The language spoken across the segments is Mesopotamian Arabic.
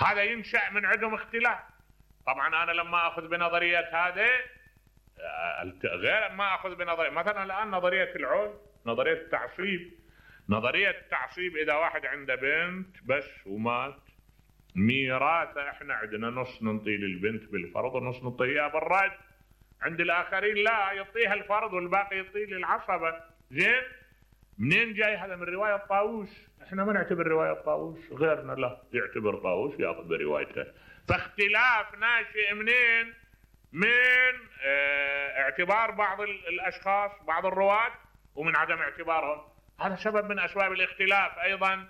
هذا ينشأ من عندهم اختلاف. طبعا انا لما اخذ بنظرية هذا غير ما اخذ بنظرية مثلا الان نظرية العول، نظرية التعصيب. نظرية التعصيب اذا واحد عنده بنت بس ومات، ميراثه احنا عندنا نص ننطي للبنت بالفرض ونص نعطيها بالرد. عند الاخرين لا، يعطيها الفرض والباقي يعطيه للعصبة. زين، منين جاي هذا؟ من رواية طاووس. احنا ما نعتبر رواية طاووس، غيرنا لا يعتبر طاووس ياخذ بروايته. فاختلاف ناشئ منين؟ من اعتبار بعض الاشخاص بعض الرواة ومن عدم اعتبارهم. هذا سبب من اسباب الاختلاف. ايضا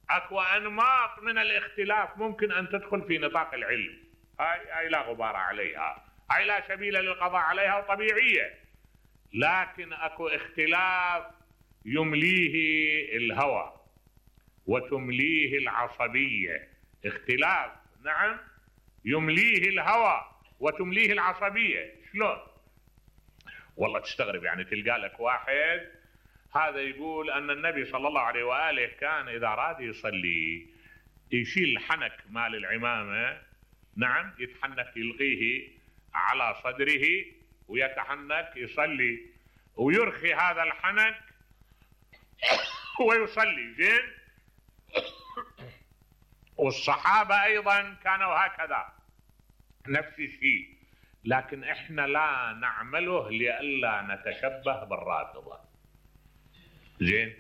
اكو انماط من الاختلاف ممكن ان تدخل في نطاق العلم، هاي لا غبار عليها، هاي لا سبيل للقضاء عليها وطبيعية. لكن اكو اختلاف يمليه الهوى وتمليه العصبية. اختلاف نعم يمليه الهوى وتمليه العصبية. شلون؟ والله تستغرب، يعني تلقى لك واحد هذا يقول ان النبي صلى الله عليه وآله كان اذا راد يصلي يشيل الحنك مال العمامة، نعم يتحنك يلقيه على صدره ويتحنك يصلي ويرخي هذا الحنك ويصلي. زين، والصحابة ايضا كانوا هكذا نفس الشيء. لكن احنا لا نعمله لئلا نتشبه بالرافضة. زين،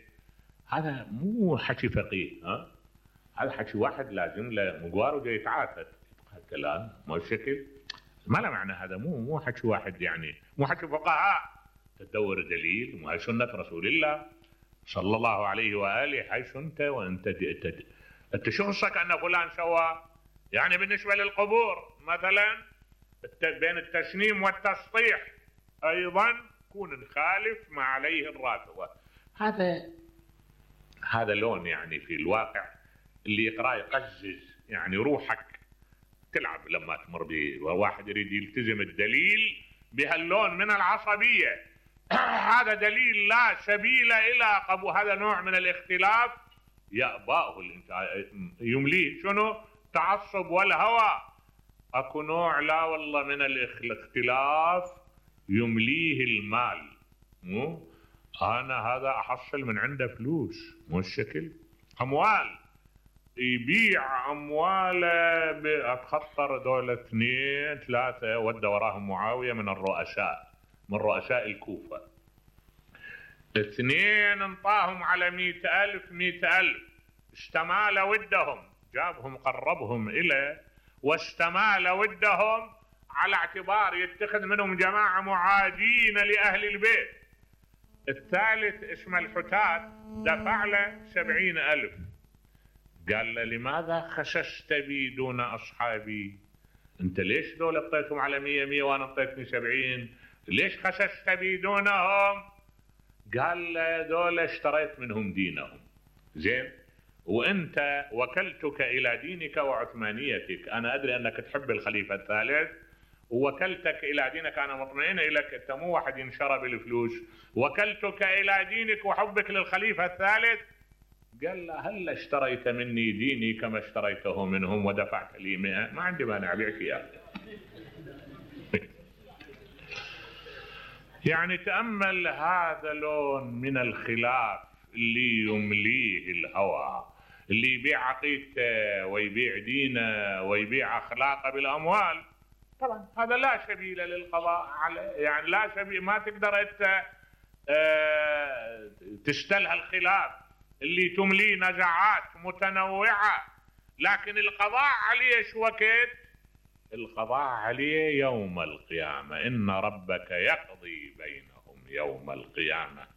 هذا مو حكي فقيه، هذا حكي واحد لازم له مقوار وجاي يتعافى كلام مو الشكل، ما له معنى. هذا مو حكي واحد، يعني مو حكي فقهاء. تدور دليل، وهي سنة رسول الله صلى الله عليه وآله. هاي سنته وانت انت شو خصك ان فلان سوى؟ يعني بالنسبة للقبور مثلا بين التسنيم والتسطيح ايضا كون نخالف ما عليه الرافضة. هذا لون يعني في الواقع اللي يقرأ يقزز، يعني روحك تلعب لما تمر بواحد يريد يلتزم الدليل بهاللون من العصبية. هذا دليل لا سبيل الى قبول. هذا نوع من الاختلاف يأباه يمليه شنو؟ تعصب والهوى. اكو نوع لا والله من الاختلاف يمليه المال. مو انا هذا احصل من عنده فلوس، مو الشكل اموال، يبيع امواله باتخطر دولة 2 3 ودى وراهم معاوية من الرؤساء، من رؤساء الكوفة. 2 انطاهم على 100,000 استمال ودهم، جابهم قربهم إليه واستمال ودهم على اعتبار يتخذ منهم جماعة معادين لأهل البيت. الثالث اسمه الحتات دفع له 70,000. قال له لماذا خسست بي دون أصحابي؟ انت ليش دول اعطيتهم على 100 وانا اعطيتني 70؟ ليش خسست بي دونهم؟ قال له دول اشتريت منهم دينهم. زين، وانت وكلتك الى دينك وعثمانيتك. انا ادري انك تحب الخليفة الثالث ووكلتك الى دينك، انا مطمئن لك، انت مو واحد ينشرى بالفلوس. وكلتك الى دينك وحبك للخليفة الثالث. قال له هل اشتريت مني ديني كما اشتريته منهم ودفعت لي 100؟ ما عندي مانع ابيعك اياه. يعني تأمل هذا لون من الخلاف اللي يمليه الهوى، اللي يبيع عقيدته ويبيع دينه ويبيع اخلاقه بالاموال. طبعا هذا لا سبيل للقضاء عليه، يعني لا سبيل، ما تقدر انت تستلها الخلاف اللي تمليه نزعات متنوعة. لكن القضاء عليه شو وقت؟ القضاء عليه يوم القيامة. إن ربك يقضي بينهم يوم القيامة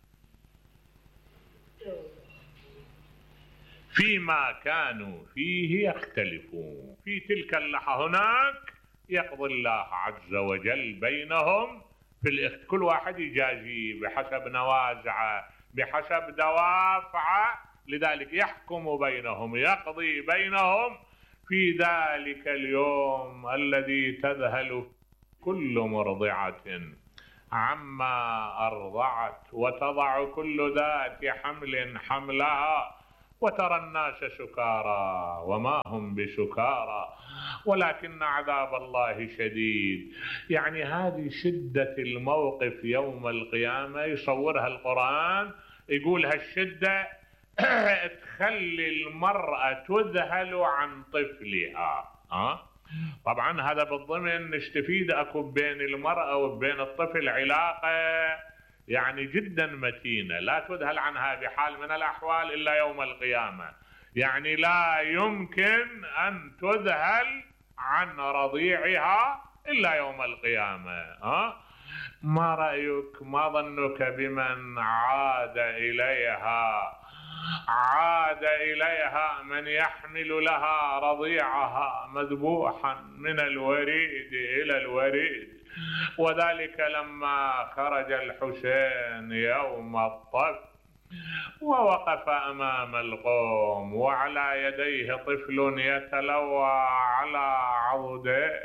فيما كانوا فيه يختلفون. في تلك اللحظة هناك يقضي الله عز وجل بينهم في كل واحد يجازي بحسب نوازعه بحسب دوافعه. لذلك يحكم بينهم، يقضي بينهم في ذلك اليوم الذي تذهل كل مرضعة عما أرضعت وتضع كل ذات حمل حملها وترى الناس سكارى وما هم بسكارى ولكن عذاب الله شديد. يعني هذه شدة الموقف يوم القيامة يصورها القرآن، يقول هالشدة تخلي المرأة تذهل عن طفلها. طبعا هذا بالضمن نستفيد اكو بين المرأة وبين الطفل علاقة يعني جدا متينة، لا تذهل عنها بحال من الأحوال إلا يوم القيامة. يعني لا يمكن أن تذهل عن رضيعها إلا يوم القيامة. ما رأيك، ما ظنك بمن عاد إليها من يحمل لها رضيعها مذبوحا من الوريد إلى الوريد؟ وذلك لما خرج الحسين يوم الطف ووقف أمام القوم وعلى يديه طفل يتلوى على عضده